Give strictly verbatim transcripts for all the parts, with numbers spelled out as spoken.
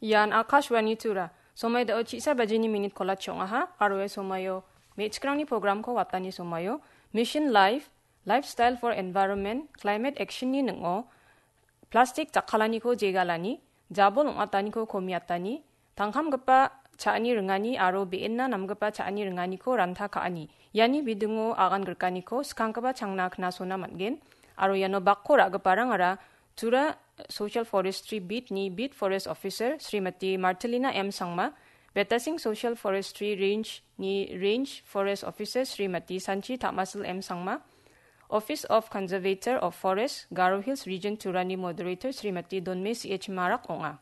Ian Akashvani Tura. Somai dao chisa bajini minit kolatchi ong·aha, aro ia somaio me·chikrangni programko watani somaio Mission Life, Lifestyle for Environment, Climate Action-ni ning·o plastik jakkalaniko jegalani, jabol ong·ataniko komiatani, tangkamgipa cha·ani ringani aro be·enna namgipa cha·ani ringaniko ranta ka·ani. Iani bidingo agan grikaniko skanggipa changna knasona man·gen, aro iano bakko ra·giparangara Tura Social Forestry Beat-ni Beat Forest Officer Srimati Martelina M Sangma, Betasing Social Forestry Range-ni Range Forest Officer Srimati Sanchi Tamasil M Sangma, Office of Conservator of Forest, Garo Hills Region Turani Moderator Srimati Donme C H Marak ong·a.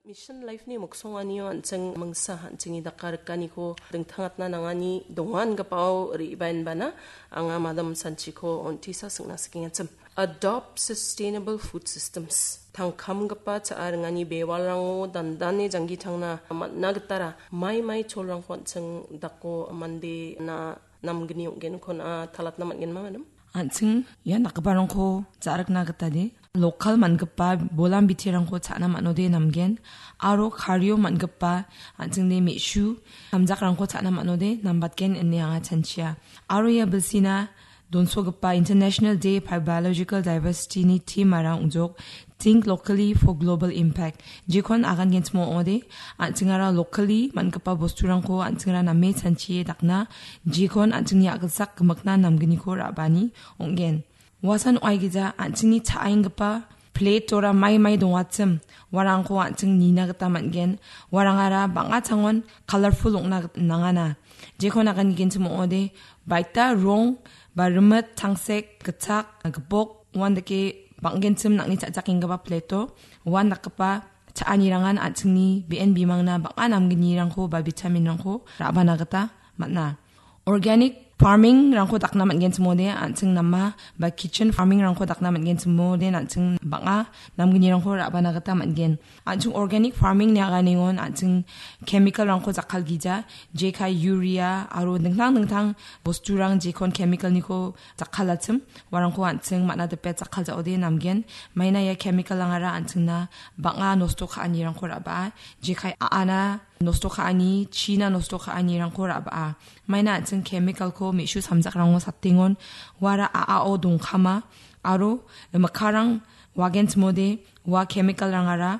Mission Life-ni miksonganio an·ching mingsa an·chingni dakarikaniko dingtangatna nangani donga ingipao re·baenbana anga Madam Sanchiko on·tisa singna sikengachim. Adopt sustainable food systems. Tangkamgipa cha·a ringani bewalrango dandane janggitangna man·a gitara mai mai cholrangko an·ching dako mande na namgni ong·genko na talatna man·genma, madam? An·ching ia dakgiparangko ja·rikna gita de, lokal man·gipa bolam biterangko cha·na man·ode namgen, aro kario man·gipa an·chingni me·su samjakrangko cha·na man·ode nambatgen ine anga chanchia. Aro ia bilsina donsogipa International Day for Biological Diversity-ni theme-ara ong·jok, Think Locally for Global Impact. Jekon agangenchim ong·ode, an·chingara locally man·gipa bosturangko an·chingara name chanchie dakna, jekon an·chingni a·gilsak gimikna namgniko ra·bani ong·gen. Uasan ong·aigija an·chingni cha·enggipa plate-ora mai mai dongachim, uarangko an·ching nina gita man·gen. Uarangara bang·a changon colourful ong·na git-, nangana. Jekon agangenchim ong·ode, baita rong ba rimit, tangsek, gitchak, gipok, uandake bang·genchim nang·ni cha·chakenggipa plate-o uandakgipa cha·anirangan an·chingni be·en bimangna bang·a namgnirangko ba vitamin-rangko ra·bana gita man·a. Organic farming-rangko dakna man·genchim ong·ode, an·ching nama ba kitchen farming-rangko dakna man·genchim ong·ode, an·ching bang·a namgnirangko ra·bana gita man·gen. An·ching organic farming-ni aganengon an·ching chemical-rangko jakkalgija, jekai urea aro dingtang dingtang bosturang jekon chemical-niko jakkalachim, uarangko an·ching man·a dipe jakkalja·ode namgen. Maina ia chemical-rangara an·chingna bang·a nosto ka·anirangko ra·baa, jekai a·ana nosto ka·ani, china nosto ka·anirangko ra·baa. Maina an·ching chemical-ko me·su samjakrango satengon, uara a·ao dongkama, aro mikkarang wagenchimode ua chemical-rangara,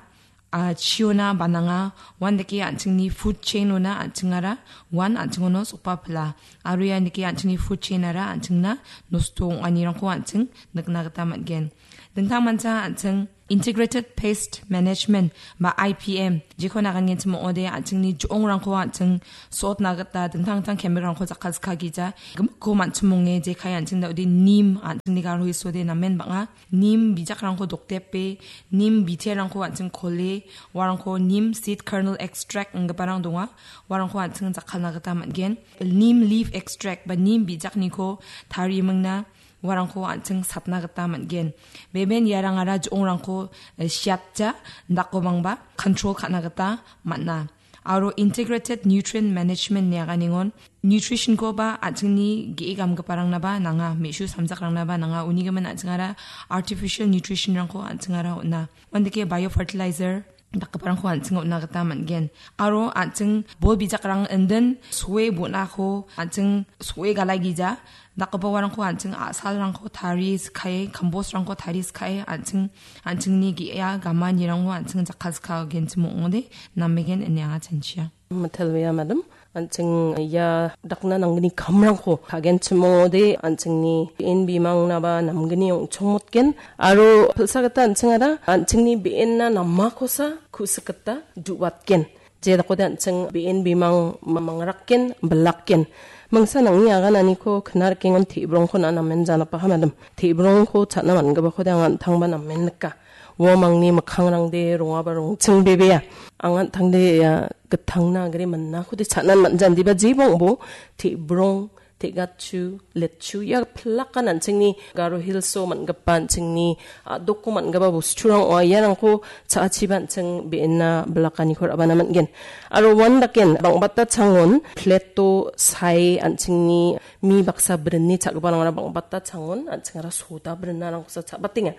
a, chiona bananga, uandake an·chingni food chain-ona an·chingara, uan an·chingono sokbapila. Aro iandake an·chingni food chain-ara an·chingna nosto ong·anirangko an·ching nikna gita man·gen. Dingtangmancha an·ching Integrated Pest Management ba I P M, jekon agangenchim ong·ode an·chingni jo·ongrangko an·ching sotna gita dingtang dingtang chemical-rangko jakkalskagija, gimikko man·chimonge jekai an·ching da·ode neem an·chingni garo hisode namen bang·a. Neem bijakrangko dokdepe, neem biterangko an·ching kole, uarangko neem seed kernel extract inggiparang donga, uarangko an·ching jakkalna gita man·gen. Neem leaf extract ba neem bijakniko tarimingna uarangko an·ching satna gita man·gen. Beben iarangara jo·ongrangko, eh, siatja, dakobangba control ka·na gita man·a. Aro Integrated Nutrient Management-ni aganengon nutrition-koba an·chingni ge·e gamgiparangnaba nanga, me·su samjakrangnaba nanga, unigimin an·chingara artificial nutrition-rangko an·chingara on·a. Uandake biofertilizer dakgiparangko an·ching on·na gita man·gen. Aro an·ching bol bijakrang indin soe bonako an·ching soe galaigija, dakgipa uarangko an·ching a·salrangko tari sikae, kambosrangko tari sikae, an·ching, an·chingni ge·a gamanirango an·ching jakkalskagenchim ong·ode, namegen ine anga chanchia. Mitelbea, madam, an·ching ia dakna nanggni kamrangko kagenchim ong·ode, an·chingni be·en bimangnaba namgni ong·chongmotgen, aro pilsa gita an·chingara an·chingni be·enna namakosa ku·sik gita du·batgen. Je dakode an·ching be·en bimang ma-, mangrakgen, bilakgen. Mingsa nang·ni agananiko kna rikengon te·brongko na namen janapaha, madam. Te·brongko cha·na man·gipakode anga an·tangba namen nika. Uamangni mikkangrangde rongaba rongchingbebeya. Anga an·tangde ia gitangna agre minakode cha·nan man·ja, indiba jeba ong·bo te·brong te·gatchu, letchu, ia pilakan an·chingni Garo Hills-o man·gipa an·chingni a·doko man·gipa bosturang ong·a. Iarangko cha·achiba an·ching be·ena bilakaniko ra·bana man·gen. Aro uan daken bang·bata changon plate-o sae an·chingni mi baksa brinni cha·giparangara bang·bata changon an·chingara soda brinarangkosa cha·batenga.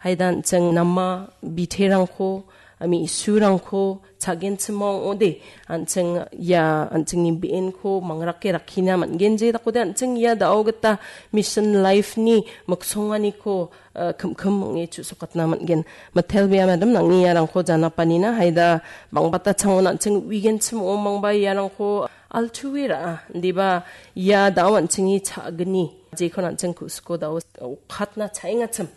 Haida an·ching nama biterangko, me·surangko cha·genchim ong·ode, an·ching ia an·chingni be·enko mangrake rakkina man·gen, je dakode an·ching ia da·o gita mission life-ni miksonganiko, eh, kim-kim ong·e chu·sokatna man·gen. Mitelbea madam, nangni iarangko janapanina, haida bang·bata changon an·ching uigenchim ong·omangba iarangko altuera, indiba ia da·o an·chingni cha·gni, jekon an·ching ku·siko da·o okatna cha·engachim.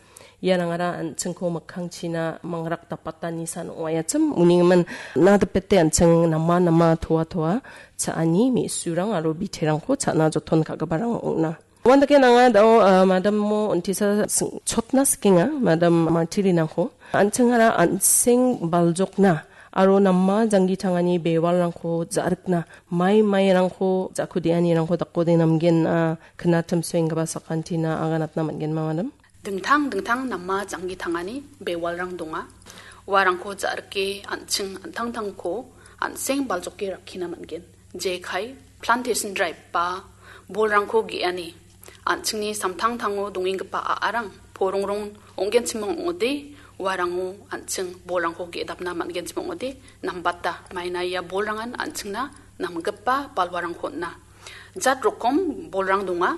Iarangara an·chingko mikkangchina mangrak dapatani san ong·aiachim. Unigimin nadipete an·ching nama nama toa toa cha·ani me·surang aro biterangko cha·na joton ka·giparang ong·na. Uandake nanga da·o, ah, madamo untisa sing-, chotna sikenga, madam Martirinangko. An·chingara an·seng baljokna aro nama janggi tangani bewalrangko ja·rikna, mai mairangko ja·kudeanirangko dakode namgen, ah, knatim suenggipa sakantina aganatna man·genma, madam? Dingtang dingtang nama janggi tangani bewalrang donga. Uarangko ja·rike an·ching an·tangtangko an·seng baljoke rakkina man·gen. Jekai, plantation drive ba bolrangko ge·ani. An·chingni samtangtango dongenggipa a·arang porongrong ong·genchim ong·ode, uarango an·ching bolrangko ge·dapna man·genchim ong·ode, nambata maina ia bolrangan an·chingna namgipa balwarangko on·a. Jat rokom bolrang donga.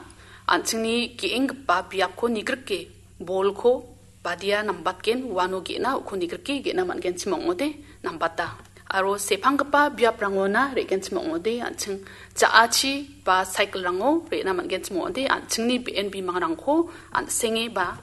An·chingni ge·enggipa biapko nigrike, bolko badia nambatgen, uano ge·na uko nigrike ge·na man·genchim ong·ode, nambata. Aro sepanggipa biaprangona re·genchim ong·ode, an·ching ja·achi ba cycle-rango re·na man·genchim ong·ode, an·chingni be·en bimangrangko an·senge ba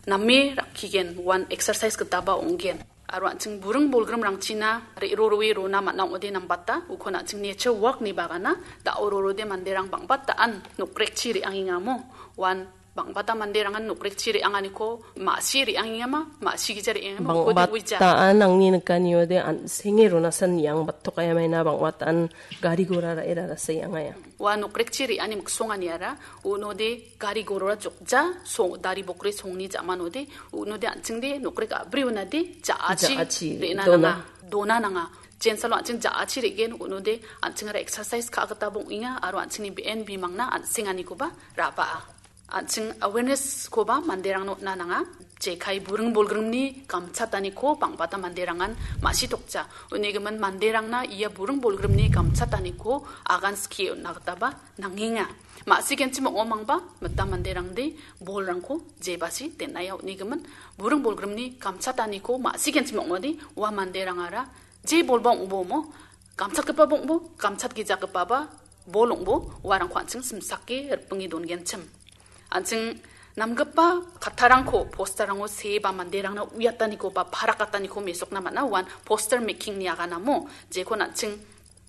name rakkigen, uan exercise gitaba ong·gen. Aro an·ching buring bolgrimrangchina re·roroe rona man·a ong·ode nambata, ukon an·ching nature walk-ni bagana da·o rorode manderang bang·bata an nokrekchi re·angengamo, uan bang·bata manderangan nokrekchi re·anganiko ma·sie re·angengama, ma·sigija re·angengama, ukode uija. Bang·bata an angni nikaniode an·senge ronasan iang batok ayamaina bang·bata an gari gora ra·e rarasa iang aya. Ua nokrekchi re·ani miksonganiara, unode gari gorora jokja, so-, dari bokri songni ja·manode, unode an·chingde nokrek a·bri unade, ja·achi ja·achi re·na dona. Nanga, dona nanga. Jensalo an·ching ja·achi re·gen, unode an·chingara exercise ka·a gita bong·enga, aro an·chingni be·en bimangna an·senganikoba ra·baa. An·ching awareness-koba manderangna on·na nanga. Jekai buring bolgrimni gamchataniko bang·bata manderangan ma·sitokja. Unigimin manderangna ia buring bolgrimni gamchataniko agan skie on·na gitaba nangenga. Ma·sigenchim ong·omangba mita manderangde bolrangko jebasi den·aia unigimin buring bolgrimni gamchataniko ma·sigenchim ong·ode ua manderangara je bolba ong·bo mo, gamchatgipa bong·bo, gamchatgijakgipaba bol ong·bo, uarangko an·ching simsake ripinge dongenchim. An·ching namgipa kattarangko posterrango see ba manderangna uiataniko ba parakataniko mesokna man·a, uan poster making-ni aganamo, jekon an·ching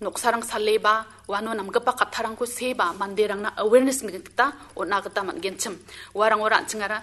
noksarang sale ba uano namgipa kattarangko see ba manderangna awareness-ni gita on·a gita man·genchim. Uarangora an·chingara